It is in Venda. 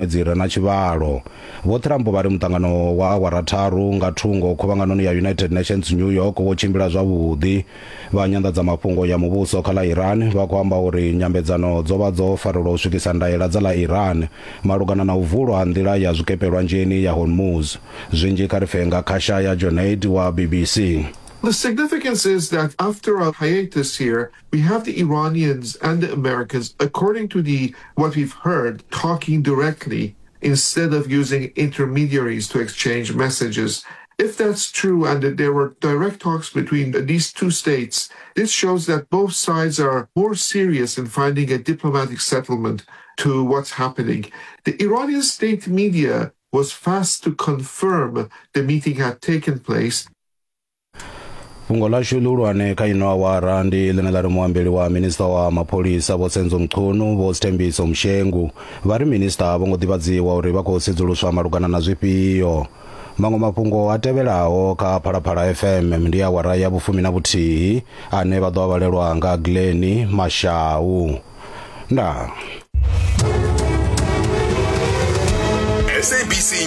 Dzi re na tshivhalo. Vho Trump vha ri muṱangano wa awara tharu nga thungo khuvhanganoni ya United Nations New York wo tshimbila zwavhuḓi. Vha nyanḓadzamafhungo ya muvhuso kha ḽa Iran vha khou amba uri nyambedzano dzo vha dzo farelwa u swikisa ndaela dza ḽa Iran malugana na u vulwa ha nḓila ya zwikepe lwanzheni ya Hormuz. Zwinzhi kha ri pfe nga Khashaya Jonaid wa BBC. The significance is that after a hiatus here, we have the Iranians and the Americans, according to the what we've heard, talking directly instead of using intermediaries to exchange messages. If that's true and that there were direct talks between these two states, this shows that both sides are more serious in finding a diplomatic settlement to what's happening. The Iranian state media was fast to confirm the meeting had taken place. Fhungo ḽashu ḽihulwane kha ino awara ndi ḽine ḽa ri muambeli wa minista wa mapholisa Vho Senzo Mchunu Vho Sthembiso Mshengu vha ri minista a vho ngo ḓivhadziwa uri vha khou sedzuluswa malugana na zwifhio. Maṅwe mafhungo a tevhelaho kha Phalaphala FM ndi awara ya vhufumi na vhuthihi ane vha ḓo a vhalelwa nga Glenn Mashau. Ndaa. SABC.